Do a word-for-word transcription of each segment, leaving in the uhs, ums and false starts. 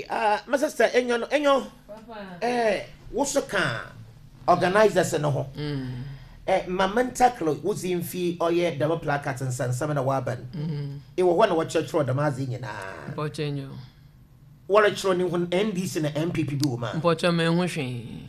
Uh, my sister, enyo no, enyo. Eh, wo so ka organisers no ho. Mm. Eh, ma mentaklo wo mfi ɔyɛ dɛm placard nsansam na waba no. Mm. Ewɔ hɔ na wɔkyerɛkyerɛ dɛm adze nyinaa. Mpɔkyɛ nyo. Wɔrekyerɛ ne ho N D C na N P P bi wɔ mu a. Mpɔkyɛ me ho hwee.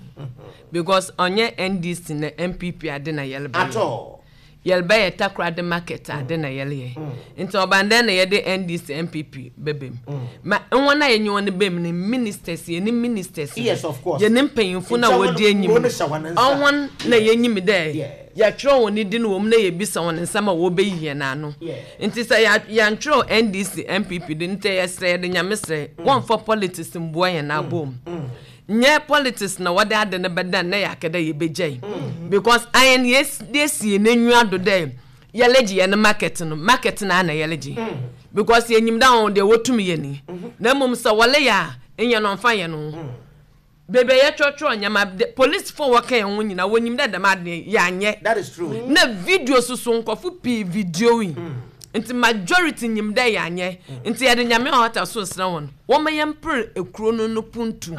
Because ɔnyɛ N D C na N P P ade na yɛlebɛyɛ. At all. Yɛlebɛyɛ Takoradi market ade na yɛleyɛ. Nti ɔban na yɛde N D C N P P bɛbɛm. Ma wɔn a yɛnye wɔn bɛm no, ministers, yɛne ministers. Yes, of course. Yɛne mpanyinfo na Nti wɔn- wɔdi enyim. Wɔn hyɛ wɔn nsa. Ɔhɔn na yɛnyim dɛ Yes. yɛtwerɛ wɔn din wɔ mu na yɛbisa wɔn nsɛm a wɔbɛyi yɛn ano. Yes. Nti sɛ yɛ- yɛntwerɛ N D C N P P de, nti yɛsrɛ, yɛde Nyame srɛ, wɔmfa politics mboa yɛn abom. Nyɛ politics na wɔde ade no bɛda na yɛaka dɛ yɛbɛgyae, because ayɛn yɛsi n'enyiwa do dɛ yɛlegye yɛn market no, market no ana yɛlegye, because yɛnyim dɛ wɔn deɛ wɔtum yɛ ni. Na mmom sɛ wɔle yɛ a, nyɛ no ɔmfa yɛn ho beebi a yɛtwerɛtwerɛ nneɛma de, polisifoɔ wɔka yɛn ho nyinaa wɔnyim dɛ dɛm ade yɛanyɛ. That is true. Na video soso, nkɔfo pii video yi, nti majority nyim dɛ yɛanyɛ. Nti yɛde Nyame a ɔta so srɛ wɔn, wɔma yɛmpere ekuro no no puntu,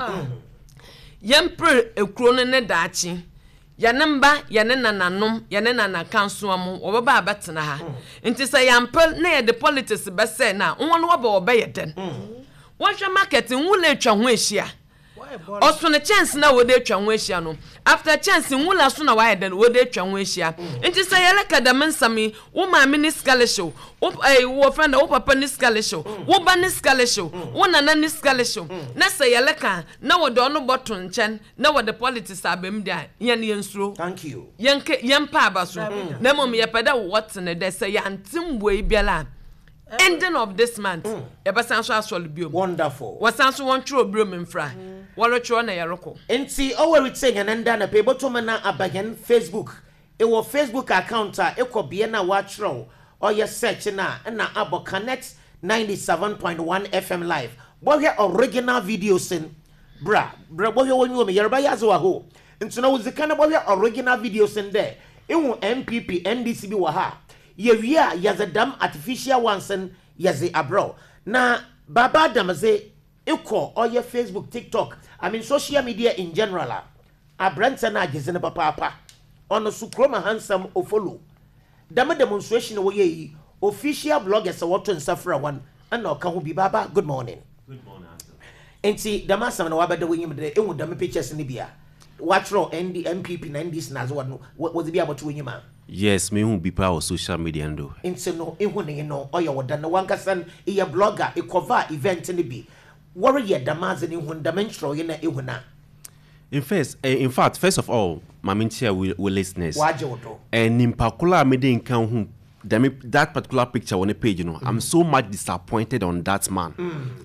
yɛmpere ekuro no ne daakye, yɛne mba, yɛne nananom, yɛne nanakansoa mu wɔbɛba abɛtena ha. Nti sɛ yɛampɛ na yɛde politics bɛsɛ na wɔn wɔbɛ wɔbɛyɛ dɛn? Wɔhwɛ market nwula atwa ho ahyia, ɔsono kyɛnse na wɔde atwa ho ahyia no, after kyɛnse nwula so na wayɛ dɛn wɔde atwa ho ahyia. Nti sɛ yɛreka dɛm nsɛm yi, wo maame ne sika lehyew, wo ɛɛ wɔ fɛn dɛ, wo papa ne sika lehyew, wo ba ne sika lehyew, wo nana ne sika lehyew, na sɛ yɛreka na wɔde ɔno bɔto nkyɛn na wɔde politics abɛm de a, yɛn yɛn suro. Thank you. Yɛn ke yɛn pa aba so, na mmom yɛpɛ dɛ wɔtene dɛ sɛ yɛante mboa yi biara a, ending of this month yɛbɛsan so asɔre biom. Wonderful. Wɔsan so wɔntwerɛ biom mfra, wɔretwerɛ na yɛrekɔ. Nti ɔwɔ retie yɛn nda na pɛ ebotum na aba yɛn Facebook. Ɛwɔ Facebook account a ɛkɔ bea na wɔatwerɛw ɔyɛ search na ɛna abɔ Connect ninety-seven point one F M live. Bɔhwɛ original videos n bra bra, bɔhwɛ wɔn nyiwɔ mi yɛreba yɛ adze wɔ hɔ. Nti na wodzi kan bɔhwɛ original videos n dɛ ehu N P P N D C bi wɔ ha. Yɛwie a, yɛdze dam artificial ones n yɛdze abrɛw na Baba Adam dze ekɔ ɔyɛ Facebook, TikTok, I mean social media in general a, aberanteɛ no agyedze no papaapa. Ɔno so kurom ahansɛm ofolo dɛm demonstration a wɔyɛ yi, official bloggers a wɔto nsa frɛ wɔn ɛna ɔka ho bi. Baba, good morning. Good morning, Uncle. Nti dɛm asɛm no wabɛda w'enyim dɛ ehu dɛm pictures no bi a wɔatwerɛ N D N P P na N D C na adze wɔ no, wɔdze bi abɔto w'enyim a. Yes, mehu bi paa wɔ social media no do. Nti no ehu ne no ɔyɛ wɔ da no wankasa no eyɛ blogger, ekɔva event no bi, wɔreyɛ dɛm adze no, ehu dɛm nkyerɛwee na ehu na. In first, eh, in fact, first of all, maame nkyia wo wo listeners. Wagye wo do. And nipa koro a mede nka ho dɛm that particular picture on the page no, I'm so much disappointed on that man.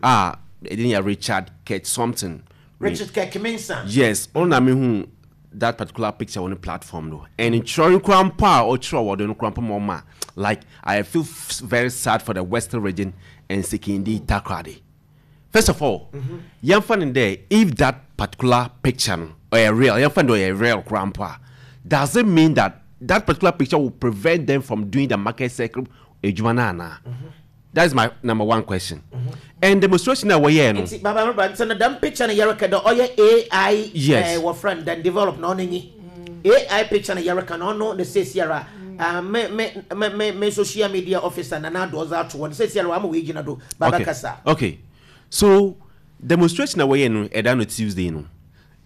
Ah, ɛdin yɛ Richard Kurt something. Richard Kirk Mensah. Yes, ɔno na mehu that particular picture on the platform no. And nkyerɛ koraa mpo a ɔkyerɛ wɔ do no koraa mpo ma ɔma like I feel f- very sad for the Western Region and Sekondi Takoradi. First of all, yɛmfa no dɛ if that particular picture no ɔyɛ real, yɛmfa no dɛ ɔyɛ real koraa mpo a, does it mean that that particular picture will prevent them from doing the market circle adwuma no anaa? That is my number one question. And demonstration a wɔyɛɛ no. Nti Baba Meba, nti no dɛm picture no yɛreka dɛ ɔyɛ A I. Yes. eh, wɔfrɛ no dɛn, develop na ɔno nyi A I picture no yɛreka no, ɔno ne seesiara uh, me me me me me social media officer Nana Addo ɔdze ato hɔ no seesiara wama wɔegyina do. Baba, okay. kasa. Okay. So demonstration a wɔyɛ no ɛda no Tuesday no,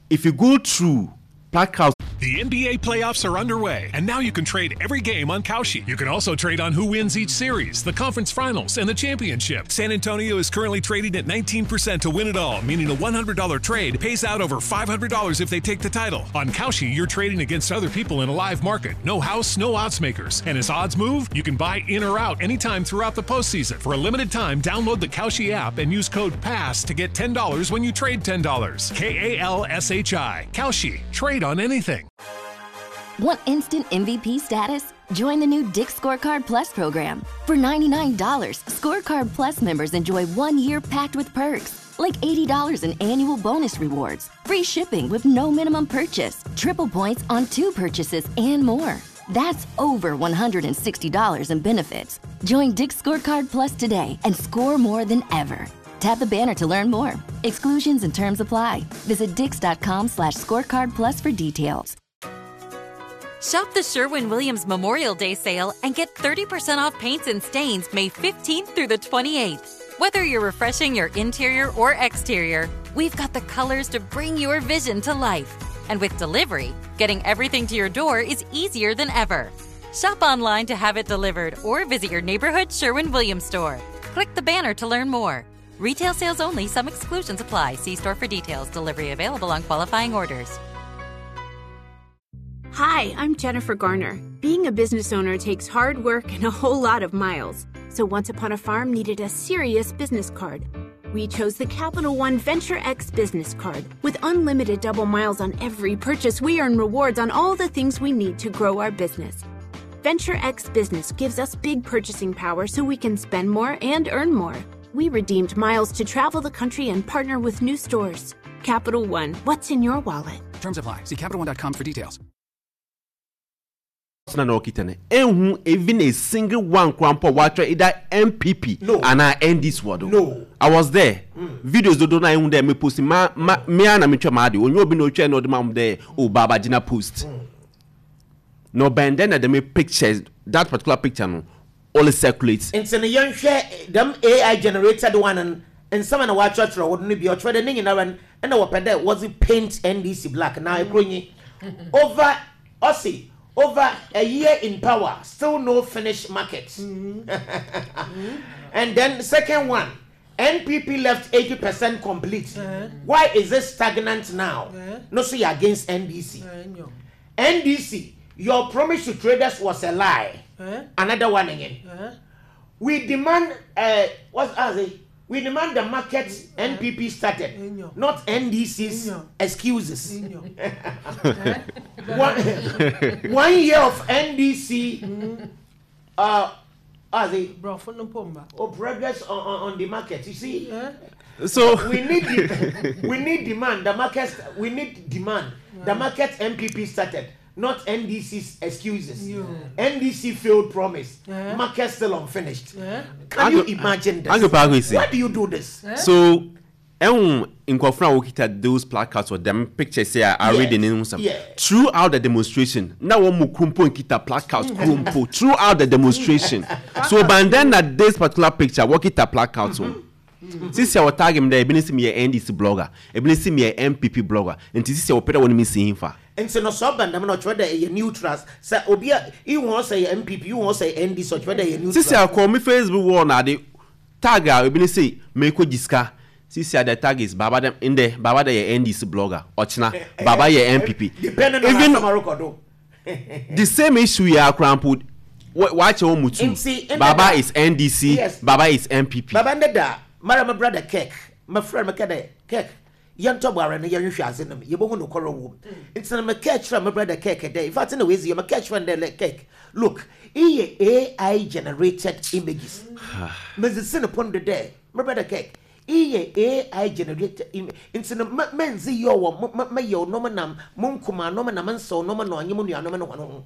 if you go through placards The N B A playoffs are underway, and now you can trade every game on Kalshi. You can also trade on who wins each series, the conference finals, and the championship. San Antonio is currently trading at nineteen percent to win it all, meaning a one hundred dollar trade pays out over five hundred dollars if they take the title. On Kalshi, you're trading against other people in a live market. No house, no odds makers. And as odds move, you can buy in or out anytime throughout the postseason. For a limited time, download the Kalshi app and use code PASS to get ten dollars when you trade ten dollars. K A L S H I. Kalshi. Trade on anything. Want instant M V P status? Join the new Dick's Scorecard Plus program. For ninety-nine dollars, Scorecard Plus members enjoy one year packed with perks, like eighty dollars in annual bonus rewards, free shipping with no minimum purchase, triple points on two purchases, and more. That's over one hundred sixty dollars in benefits. Join Dick's Scorecard Plus today and score more than ever. Tap the banner to learn more. Exclusions and terms apply. Visit dix dot com slash scorecard plus for details. Shop the Sherwin Williams Memorial Day sale and get thirty percent off paints and stains May fifteenth through the twenty-eighth. Whether you're refreshing your interior or exterior, we've got the colors to bring your vision to life. And with delivery, getting everything to your door is easier than ever. Shop online to have it delivered or visit your neighborhood Sherwin Williams store. Click the banner to learn more. Retail sales only, some exclusions apply. See store for details. Delivery available on qualifying orders. Hi, I'm Jennifer Garner. Being a business owner takes hard work and a whole lot of miles. So Once Upon a Farm needed a serious business card. We chose the Capital One Venture X business card. With unlimited double miles on every purchase, we earn rewards on all the things we need to grow our business. Venture X Business gives us big purchasing power so we can spend more and earn more. We redeemed miles to travel the country and partner with new stores. Capital One, what's in your wallet? Terms apply. See Capital One dot com for details. Na na ɔkita no ehu even a single one koraa mpo watwerɛ either N P P No. anaa N D C wɔ do. No. I was there. Videos dodo na ehu dɛ me post ma ma me a na me twɛ maa de onye obi na otwa na ɔde ma mo dɛ o Baba gyina post na ɔbɛn dɛ na dɛm pictures, that particular picture no only circulate. Nti no yɛnhwɛ dɛm A I generated one no, nsɛm a na wɔatwerɛtwerɛ wɔ do no bi ɔtwerɛ dɛ ne nyinara no ɛna wɔpɛ dɛ wɔdze paint N D C black na ekuro nyi over ɔsi over a year in power, still no finish market. And then second one, N P P left eighty percent complete, why is it stagnant now? No, so you're against N D C. N D C, your promise to traders was a lie. Another one again, we demand uh what's as it we demand the market N P P started, not N D C's excuses. one, one year of N D C uh as it oh progress on, on, on the market, you see. So we need the, we need demand the market, we need demand the market N P P started, not N D C's excuses. N D C failed promise, market still unfinished. Can you Uncle- imagine this? Uncle Pakwesi. Why do you do this? So ɛhu nkurɔfoɔ a wɔkita those placards or them pictures say a read in nsɛm Yeah. throughout the demonstration na wɔn mu kurumpo nkita placards kurumpo throughout the demonstration. So by then na this particular picture wɔkita placards o sisi a wɔtag mi dɛ ebi ne si mi yɛ N D C blogger, ebi ne si mi yɛ N P P blogger, nti sisi a wɔpɛ dɛ wɔn mi si hin fa. Nti no sɛ ɔba ndɛm na ɔkyerɛ dɛ ɛyɛ neutral, sɛ obi a ihu sɛ yɛ N P P, ihu sɛ yɛ N D C, ɔkyerɛ dɛ ɛyɛ neutral. Sisi a kɔ mi Facebook wall na ade tag a ebi ne si meko gyi sika, sisi a the tag is Baba dem ndɛ Baba dɛ yɛ N D C blogger, ɔkyena Baba yɛ N P P. Depending on Even asɛm arokɔ do. The same issue yɛ akora mpo wakyɛ wɔn mu two. Nti, ɛnɛ Baba da- is N D C, Yes. Baba is N P P. Baba ne da mara my brother Kek, my friend, meka dɛ Kek yɛntɔ bɔ ara no yɛnhwehwɛ ase nom yɛbɛhu nokorɛ wɔ mu. Nti na meka kyerɛ my brother Kek dɛ, in fact na wɔasi yɛ meka kyerɛ no dɛ, "Kek, look, iyɛ A I generated images." Mezisi ne pon do dɛ, my brother Kek, iyɛ A I generated image, nti no mɛnzi yɛ wɔ mɛyɛ ɔnom nam mo nkuma nom na mensɛw nom na ɔnye mo nuanom no hɔn ho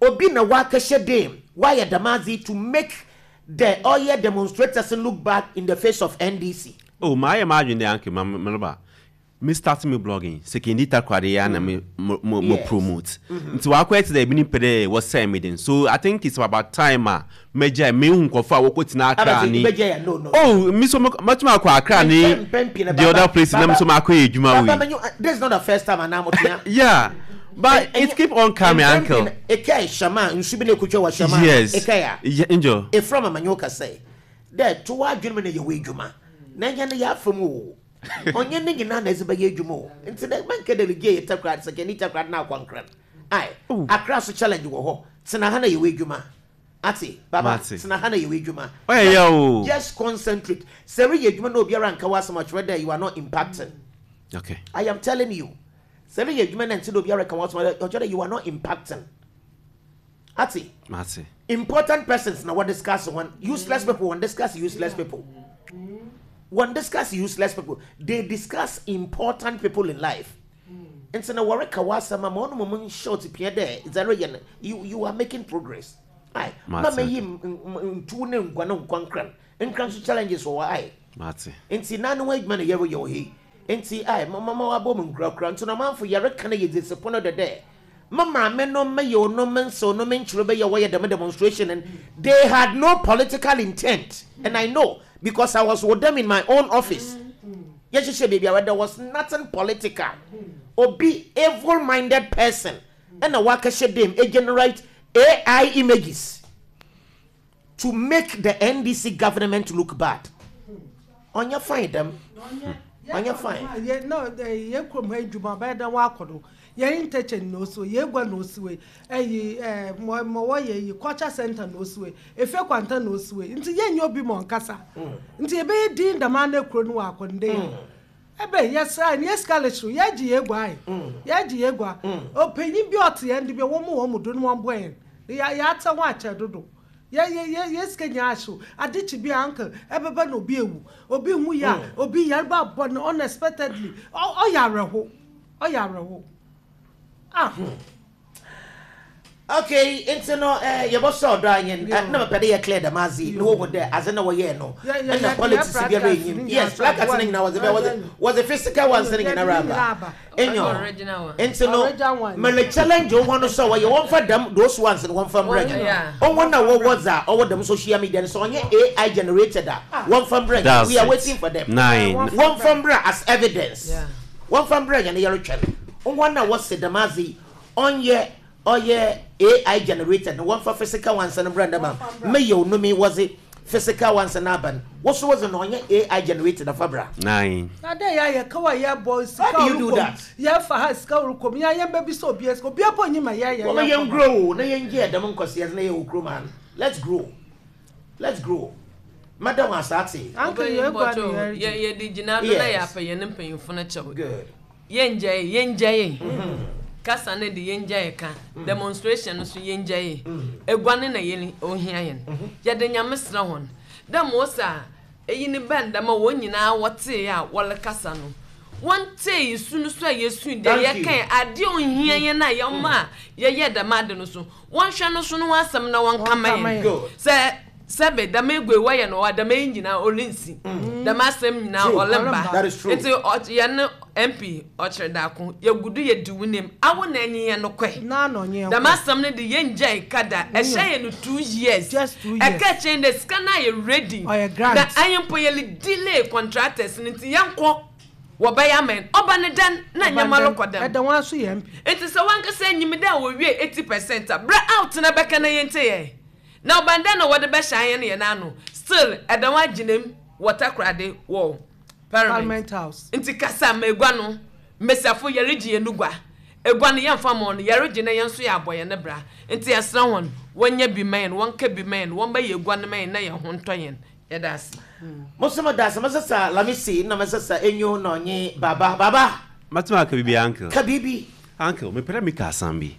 obi na wakɛhyɛ dam wayɛ damazi to make the ɔyɛ demonstrators look bad in the face of N D C. Oh, maa yɛ maa adwene de anke ma mɛlɛba me start me blogging Sekondi Takoradi ya na me mo mo mo Yes. promote nti wakɔ ɛte dɛ ebi ni pɛ dɛ wɔsɛn mi den. So I think it's about time a mɛgya mehu nkɔfo a wɔkɔ tena Accra Abati, ni. bɛgya yɛ no no. Oh, mi so mɛtuma akɔ Accra ni Mpɛn pii na the Baba- other place na mi so ma akɔ yɛ edwuma Baba wei. menyo, this is not the first time anaa motua. Yeah, but it keep on coming, uncle. Eka shama nsu bi na ekutwa wɔ shama. Yes. Eka ya. Yeah, angel. Efra mama nyo kasa dɛ to wa adwene mu na yɛ wɔ edwuma na nyɛ no yɛ afam o ɔnyɛ ne nyinaa na ɛdze bɛyɛ adwuma o. Nti dɛ mɛnkɛ delegate yɛ Takoradi sɛ kɛni Takoradi na akwankran ai Akra so challenge wɔ hɔ. Tena ha na yɛ wɔ adwuma ate Baba. Mate. Tena ha na yɛ wɔ adwuma. Ɔyɛ yɛ o. Just concentrate. Sɛ reyɛ adwuma na obiara nka w'asɛm akyerɛ dɛ you are not impacting. Okay. I am telling you, sɛ reyɛ adwuma na nti na obiara ka w'asɛm akyerɛ dɛ you are not impacting ate. Mate. Important persons na what discuss one useless people won discuss useless people won discuss useless people. They discuss important people in life. Nti na wɔreka w'asɛm ama ɔno mo short pia dɛ zero yɛ no you you are making progress aye. Mate. Ma meyi ntu ne nkwa ne nkwa nkran nkran so challenges wɔ hɔ aye. Mate. Nti nanu ho adwuma na yɛreyɛ wɔ he. Nti ai mama wabɔ mu nkurakura nti na ɔmanfo yɛreka no yɛ dzesipo no dɛdɛ. Ma maame no mɛyɛ ono nso no menkyerɛ bɛyɛ wɔyɛ dɛm demonstration and they had no political intent, and I know because I was with them in my own office. Yɛhyehyɛ baabi a there was nothing political. Obi evil minded person ɛna wakɛhyɛ dem e generate A I images to make the N D C government look bad. Ɔnyɛ fine dɛm, ɔnyɛ fine. Yɛ no yɛ kurom ha adwuma bɛyɛ dɛ wakɔ do yɛn interchange na osi yɛ egua na osi wei ɛyi ɛɛ mɔ mɔ wɔyɛ yi culture center na osi wei efe kwanta na osi wei, nti yɛn nyɛ obi ma ɔnkasa nti yɛbɛyɛ din dɛm ana kuro no wɔ akɔ nde yɛ ɛbɛ yɛsra ne yɛ sika lekyere yɛgye yɛ egua ayi yɛgye yɛ egua. Ɔpanyin bi ɔte yɛn de bi wɔn mu wɔn mu do no wɔn bɔ yɛn yɛ yɛate ho akyɛ dodo yɛ yɛ yɛ yɛ sika nyinaa ahyew adekyi bi anka ɛbɛbɛ na obi ewu, obi hu yɛ a obi yareba abɔ no unexpectedly. ɔ ɔyɛ awerɛho, ɔyɛ awerɛho ah. Okay, nti no eh, yɛbɔsɔ ɔdɔ anyen eh, na mepɛ dɛ yɛ clear dɛm adze na wɔhu dɛ adze na wɔyɛɛ no ɛna politics biara enyim. Yes, placards ne nyinaa wɔdze bɛ wɔdze wɔdze physical ones ne nyinaa aba enyo. Nti no mele challenge wɔn no sɛ wɔyɛ wɔmfa dɛm those ones no wɔmfa mbrɛ nyɛ ɔwɔ na wɔwɔ dza ɔwɔ dɛm social media no sɛ ɔnyɛ A I generated a, wɔmfa mbrɛ nyɛ. We are waiting for them. Nine. Wɔmfa mbrɛ as evidence, wɔmfa mbrɛ nyɛ no yɛretwɛn wɔn na wɔse dɛm adze ɔnyɛ ɔyɛ A I generated no, wɔmfa physical ones no brɛ ndɛm a mɛyɛ onumi wɔdze physical ones no aba no wɔso wɔdze no ɔnyɛ A I generated afa bra. Nine. Na dɛ yɛ ayɛ kawa yɛ bɔ sika. How do you do that? Yɛ fa ha sika ɔrekɔm yɛ yɛn bɛbi sɛ obi sika obi abɔ nyima yɛ yɛ. Wɔn yɛn grow na yɛn gye ɛdɛm nkɔsiɛ na yɛ wɔ kurom ha. Let's grow, let's grow, madam asate. Anka yɛ egua ne yɛ yɛ yɛde gyina do na yɛ apɛ yɛn mpanyinfo no kyɛw. Good. Yɛngya yɛ yɛngya yɛ kasa no de, yɛngya yɛ ka demonstration no so, yɛngya yɛ egua ne na yɛn ohia yɛn. Yɛde Nyame srɛ wɔn dɛ mo sa eyi ne bɛn dɛm a wɔn nyinaa wɔtee a wɔrekasa no, wɔntee yi su no so a yɛsu deɛ yɛka adeɛ ohia yɛn a yɛma a yɛyɛ dɛm ade no so, wɔnhwɛ no so no wɔn asɛm na wɔnka ma yɛn sɛ sɛbe dɛm egua wɔyɛ no wɔ dɛm eyi nyinaa ɔrensi dɛm asɛm nyinaa ɔlemba. Nti yɛn M P ɔkyerɛ daako yɛgu do yɛdi wo nim awo na enyi yɛn no kɔɛ dɛm asɛm no de yɛn gya kada ɛhyɛ yɛn no two years. Ɛka kyɛn dɛ sika na yɛ ready na ayɛ mpo yɛ delay contractors no nti yɛn kɔ wɔbɛyɛ ama yɛn ɔba ne dan na nyɛma lokɔ dɛm. Ɛda wɔn aso yɛn. Nti sɛ wankasa enyim dɛ wɔwie eighty percent a brɛ out na bɛka na yɛn te yɛ na ɔban dɛn na wɔde bɛhyɛ ayɛn no yɛn ano still ɛda wɔn agyina mu wɔ Takoradi wɔ Parliament House. Nti kasa ma egua no mmesiafo yɛregye yɛn gua egua no yɛmfa ma wɔn yɛregye na yɛn nso yɛ abɔ yɛn ne bra. Nti yɛsrɛ wɔn wɔnyɛ bi ma yɛn, wɔnka bi ma yɛn, wɔn bɛyɛ egua no ma yɛn na yɛn ho ntɔ yɛn. Yɛda ase. Mosoma da ase. Masesa Lamisi na masesa enyo na ɔnye baba baba. Matuma aka bibi, uncle. Ka bibi. Uncle, mepɛ dɛ meka asɛm bi.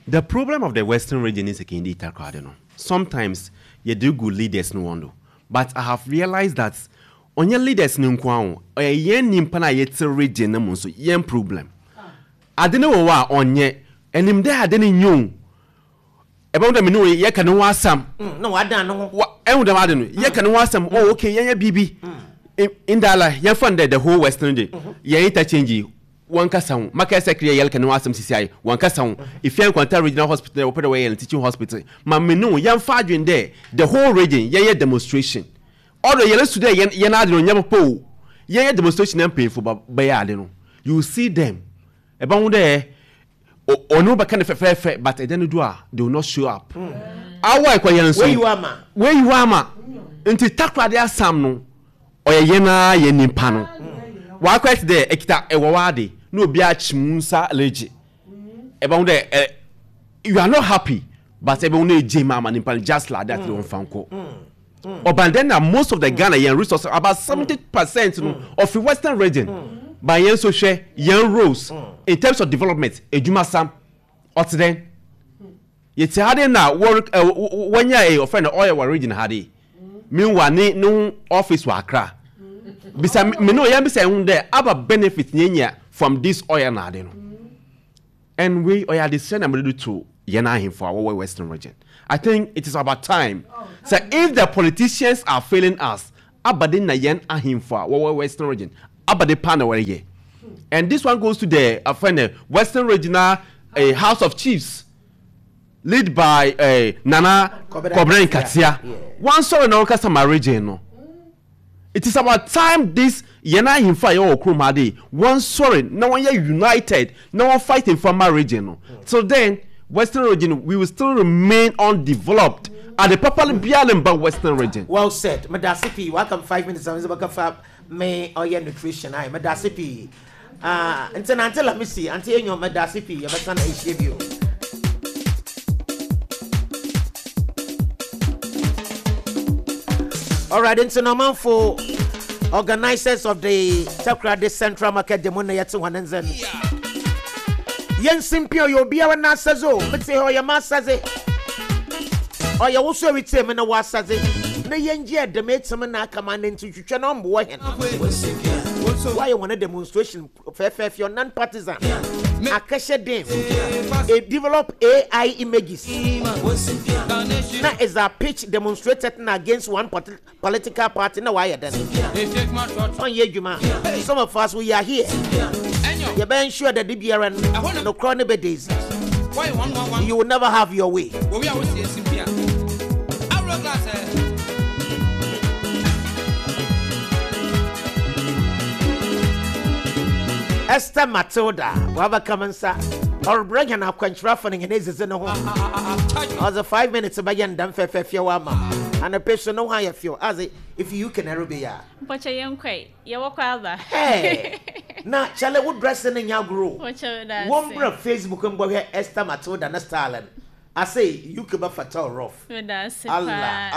The problem of the Western Region is Sekondi Takoradi no, sometimes yɛde gu leaders no wɔn do, but I have realized that ɔnyɛ leaders no nko ara o, ɔyɛ yɛn nipa na yɛte region no mu nso yɛn problem. Ade no wɔ hɔ a ɔnyɛ ɛnim dɛ ade no nye o, ɛbɛn dɛ mene wo yɛka ne ho asɛm. Na wadan ne ho. Ɛhu dɛm ade no yɛka ne ho asɛm. Oh okay, yɛnyɛ biribi ndala yɛmfa no dɛ the whole Western de yɛn interchange yi wɔn kasa ho maka sɛ kiri yɛlka ne ho asɛm sisi ayɛ wɔn kasa ho Efia Nkwanta Regional Hospital wɔpɛ dɛ wɔyɛ no teaching hospital ma mene wo yɛmfa adwene dɛ the whole region yɛyɛ demonstration ɔdɔ yɛn su dɛ yɛn yɛn ade no nyɛ papa o, yɛyɛ demonstration na mpanyinfo ba bɛyɛ ade no, you see them ɛbɛn ho dɛ ɔno bɛka ne fɛfɛɛfɛ, but ɛdɛ no do a they will not show up. Awa ɛkɔ yɛn nso weyi wa ma. Weyi wa ma. Nti Takoradi asam no ɔyɛ yɛn ara yɛn nipa no wakɔ ɛte dɛ ɛkita ɛwɔ wa ade na obi akyi mu nsa regye ɛbɛn ho dɛ ɛ you are not happy, but ɛbɛn ho na egye mu ama nipa no just like that de wɔn fa nkɔ ɔban. Then na most of the Ghana yɛn resources, about seventy percent no of the Western Region, but yɛn nso hwɛ yɛn roles in terms of development edwuma sam ɔte dɛn yɛte ha de na wɔre ɛ wɔnyɛ ɛ ɔfɛ no ɔyɛ wɔ region ha de. Meanwhile ne ne ho office wɔ Accra. Bisa me no yɛn bisa ɛho dɛ aba benefit yɛn nya from this oil na ade no. And we ɔyɛ adesrɛ na mede to yɛn ahemfo a wɔwɔ Western Region. I think it is about time so if the politicians are failing us Abade na yɛn ahemfo a wɔwɔ Western Region abade pa na wɔreyɛ. And this one goes to the uh, Western Regional uh, House of Chiefs, led by uh, Nana Kobena Nkatia. One sorry na wɔkasa ma region no. It is about time this yɛn ahemfo a yɛwɔ kurom ha de one sorry na wɔn yɛ united na wɔn fighting for my region no. So then Western Region, we will still remain undeveloped. At the properly biara Western Region. Well said. Medase pii. Welcome five minutes. I'm going to me oye nutrition. I medase pii. Ah, nti na ante la misi, ante enyo medase pii. Yebesa na ehie bio. All right, nti no manfo organizers of the Takoradi Central Market demo na yete hwanenzen. Yen simpio yo biara na asazo, mete ho ye ma asaze. Oye wo so ewite me na wa asaze. Na yen gye dem etem na aka ma na ntutwetwe na mbo hen. Why you want a demonstration fefe your non-partisan akasha dem e develop A I images na is a pitch demonstrated against one political party na why then on ye dwuma. Some of us, we are here. You better ensure that the B R N no chronic days. You will never have your way. Esther Matilda, waba kamansa, or bring an aquantra for an is in the home. As a five minutes by yan dam fair wama, and a patient no higher feel as if you can arabia. But I am quite you walk over. Hey, now, shall I would dress in your grow? One bro Facebook and go here, Esther Matilda, and Stalin. I say you could be fatal rough. Allah, Allah.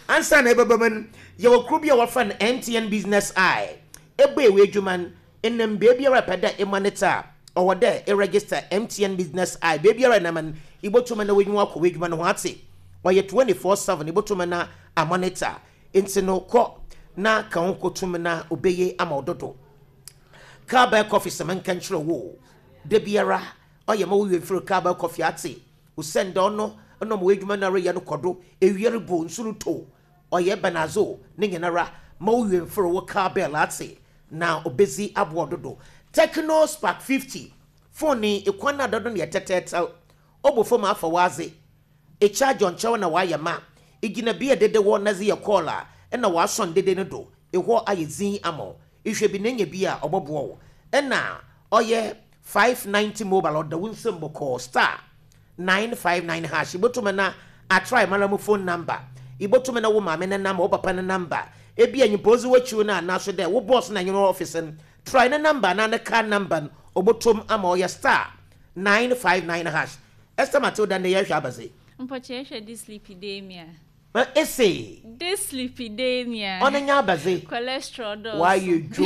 Answer neighbor, your crew be our friend M T N Business Eye. Ebe wajuman in them baby rapida a monitor or there a register M T N Business Eye. Baby naman ibotumana when you walk wajuman what's or your twenty four seven ibotumana a monitor. Insino ko na kaunko tumana obeye amododo. Cowbell coffee semen control wo. Debiara or your mo through cowbell coffee ati. Usend on no no wajuman yano kodo a year bone sunu oye benazo ningenara mo yemforo wo cowbell ate na obezi abododo Techno Spark fifty phone ni ekwana dodo ne tetetel obofo ma afa waze e charge on chew na waye ma igina bia dede wo na ze ye call a e na wason dede ne do eho ayezin amo ihwe bi nenya bia obobo wo e na oye five ninety mobile oda wunsem boko star nine five nine hash ibotuma na atry malamu phone number ibotume na wo maame ne number wo papa ne number ebi anyimpozi wachiwo na na so de wo boss na nyino office n try ne number na ne car number obotom ama oye star nine five nine hash Esther Matilda ne yehwa abaze mpoche hwe dyslipidemia ma ese dyslipidemia ona nya abaze cholesterol do why you do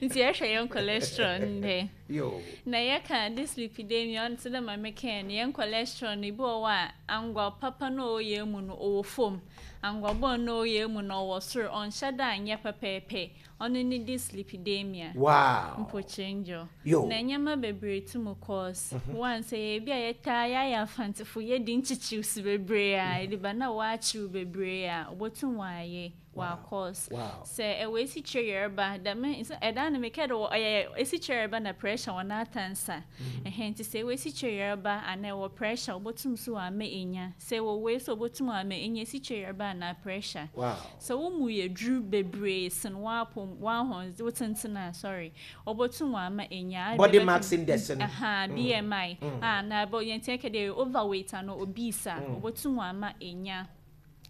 nti yehwe yon cholesterol nde yo na yeka dyslipidemia on tse ma meken yen cholesterol ni bo wa angwa papa no oye mu no owo fom angwa bo no oye mu no wo soro on shada anya pepepe ono ni dyslipidemia. Wow, mpoche njo na nyama bebre tumu cause one say bia yeta ya ya fantifo ye di nchichi su bebre a e ba na wa chi bebre a obotum wa ye wa cause say e we si chere ba da me e da na me kedo e si chere ba na pressure wana tansa eh nti say we si chere ba ana wo pressure obotum so wa me enya say wo we so obotum wa me enya si chere ba na pressure. Wow, so wo mu ye dru bebre sen wa pom wa hon wo tentina sorry obotum wa me enya body mass index aha B M I ah na bo yen take dey overweight and obese obotum wa ma enya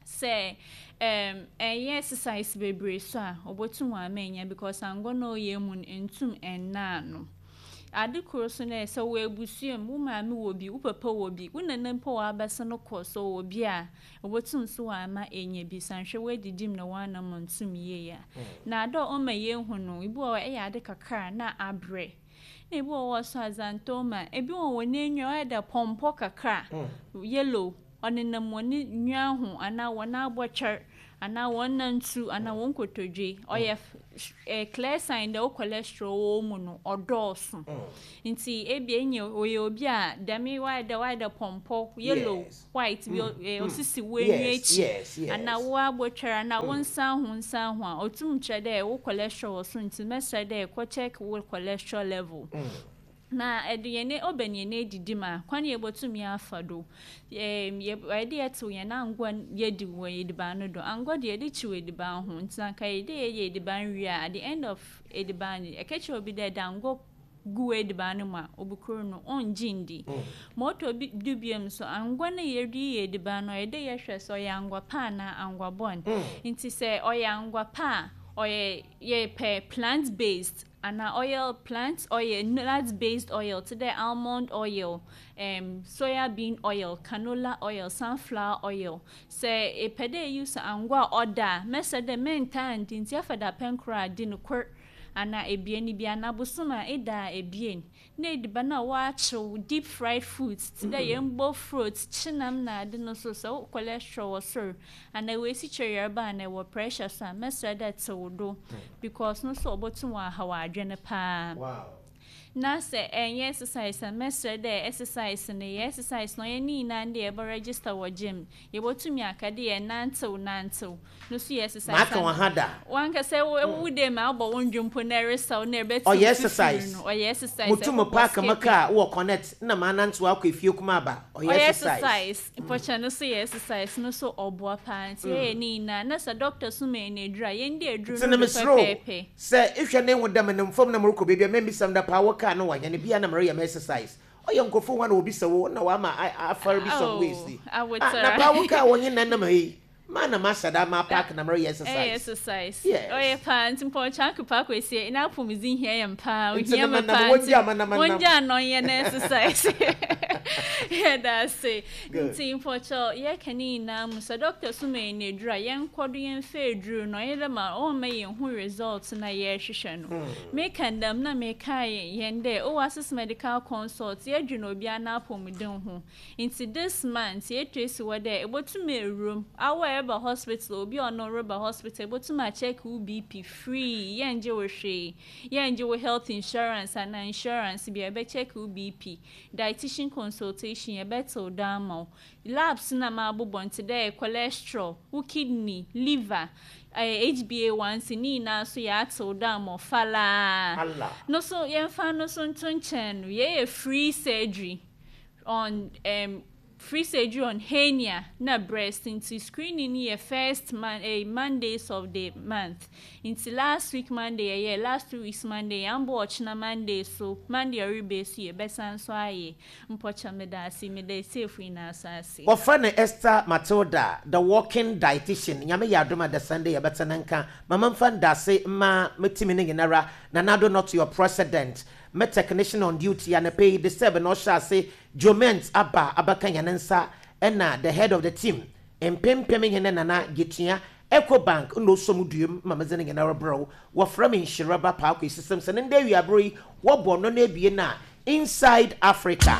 say um eh exercise bebre so a obotum wa ma enya because ango no ye mu ntum enna no ade koro so na se wo ebusuam wo maame wo bi wo papa wo bi wo nana mpo wa abese no kɔ so wo bi a obotum so wa ma enya bi sanhwe wo edidim na wa na ntum ye ya na ado o ma ye hu no ibu o e ya ade kakra na abre na ibu o so azantoma ebi wo wo na enwa e da pompo kakra yellow onenam woni nwa ho ana wona abotwer Anaa wɔn nantu anaa wɔn kotodwe ɔyɛ eh, clear sign dɛ wo cholesterol wɔ mu no ɔdɔɔso. Nti ebi enye oyɛ obi a dɛm wayɛ dɛ wayɛ dɛ pɔmpɔ yellow, Yes. white bi, Mm, eh, mm. osisi wo enyi Yes, akyi yes, yes. anaa wo abotwere anaa wo nsa ho nsa ho a, otum kyerɛ dɛ wo cholesterol wɔ so. Nti mɛsrɛ dɛ kɔ check wo cholesterol level. Na ɛde yɛn ɔbɛn yɛn edidi mu a, kwan yɛ bɔtumi afa do, ɛɛm yɛ ɛde yɛtew yɛn angwa yɛdi wɔ ediban no do. Angwa deɛ, yɛde kyiw ediban ho, nti anka yɛde yɛyɛ ediban wie a, at the end of ediban no, ɛka kyerɛ obi dɛ ɛde angwa gu ediban no mu a, obukuro no ɔngye ndi. Ma ɔtɔ bi du biom so, angwa no yɛde yɛ ediban no, ɔyɛ dɛ yɛhwɛ sɛ ɔyɛ angwa pa anaa angwa bɔn. Nti sɛ ɔyɛ angwa pa a, ɔyɛ yɛpɛ plant based anaa oil, plant oil, nut based oil te dɛ almond oil, um, soya bean oil, canola oil, sunflower oil. Sɛ epɛ dɛ use angwa a ɔda a, mɛsɛ dɛ mɛntaa ndi, nti afa da pɛn koro a, di no kor anaa ebien bi anaa bosom a ɛda a ebien. Na ediban a wɔakyew, deep fried foods te dɛ yɛn bofrot, kyenam na ade no so, sɛ wo cholesterol wɔ soro anaa wɔesi kyerɛ yarba anaa ɛwɔ pressure so a, mɛsrɛ dɛ tew do, because no so ɔbɛtum wɔ ahaw adwene paa. Wow. Na sɛ ɛnyɛ exercise a, mɛsrɛ dɛ exercise no, yɛ exercise no, ɔyɛ ne nyinaa de yɛbɛ register wɔ gym. Yɛbɛtumi aka de yɛ nantew nantew no so yɛ exercise. Maaka wɔn ha da. Wankasa wo wo de ma abɔ wo ndwom po na ɛresaw na ɛbɛtew Ɔyɛ fifiri exercise. no, ɔyɛ exercise. Mutum ɛbɛbɔ park ma skipping. car wɔ Connect na maa nantew akɔ efie kuma aba, ɔyɛ ɔyɛ exercise. Exercise mpɔkyɛ no so yɛ exercise no so, ɔboa paa. Nti yɛyɛ ne nyinaa na sɛ doctor so ma yɛn aduru a, yɛn di aduru Nti no na do mesrɛ o, pɛpɛɛpɛ. Sɛ ehwɛ ne ho dɛm ne mfam na morekɔ baabi a, mɛmbisam da paa wɔ car no wɔ hɛn bia na mereyɛ me exercise. Ɔyɛ nkurɔfoɔ hɔ na obi sɛ wo na wama a- afɔre bi some ways Oh, ni. awotara. Ah, na paa wo car wɔ nye nanam ha yi maa na mahyɛ da ma park na mereyɛ ɛyɛ exercise. Exercise. Yes. Ɔyɛ paa. Nti mpɔkyɛ akepa akɔsie na apɔmuden hia yɛn paa. Nti ohia na me manam, paa. wɔngya ama na manam. Wɔngya ano ɔnyɛ no exercise, yɛda ase. Good. Nti mpɔkyɛ yɛka ne nyinaa mu sɛ doctor so ma yɛn aduru a, yɛnkɔ do yɛmfa aduru no, ɔyɛ dɛ ma ɔmma yɛn hu result na yɛrehwehwɛ no. Meka ndam na meka yɛn dɛ Oasis Medical Consult, yɛdwene obiara n'apɔmuden ho. Nti this month yɛtwa esi hɔ dɛ ebotumi ewurom awɔ a ɛba hospital, obi a ɔno reba hospital, ebotumi acheck wo B P free. Yɛngye wo hwee, yɛngye wo health insurance anaa insurance bi a. Yɛbɛcheck wo B P, dietitian consultation, yɛbɛtew do ama wo, labs na ma abobɔ nti dɛ cholesterol, wo kidney, liver, eh, H B A one C ne nyinaa so yɛatew do ama wo falaa. Allah. No so yɛmfa no so nto nkyɛn no, yɛyɛ free surgery on um, free surgery on hernia na breast. Nti screening no yɛ first man eh, Mondays of the month. Nti last week Monday yɛyɛ, last two weeks Monday yɛambɔ, ɔkyena Monday so, Monday ɔreba so, yɛbɛsan so ayɛ. Mpɔkyɛ meda ase, meda esiefo nyinaa so ase. Wɔfrɛ no Esther Matilda, the walking dietitian. Nyame yɛ adom a, the Sunday yɛbɛtena nka mama mfa ndase ma metimi no nyinara. Nanado not your president, me technician on duty anapɛ yi de sɛ na ɔhyɛ ase joment aba abaka yɛn nsa, ɛna the head of the team mpempem hene Nana Getua, Ecobank na osom duam ma medze no nyinara brɛw. Wɔfrɛ me Nhyiraba Paako esisɛm sɛ ne nda awiabere yi wɔbɔ no no abien a Inside Africa.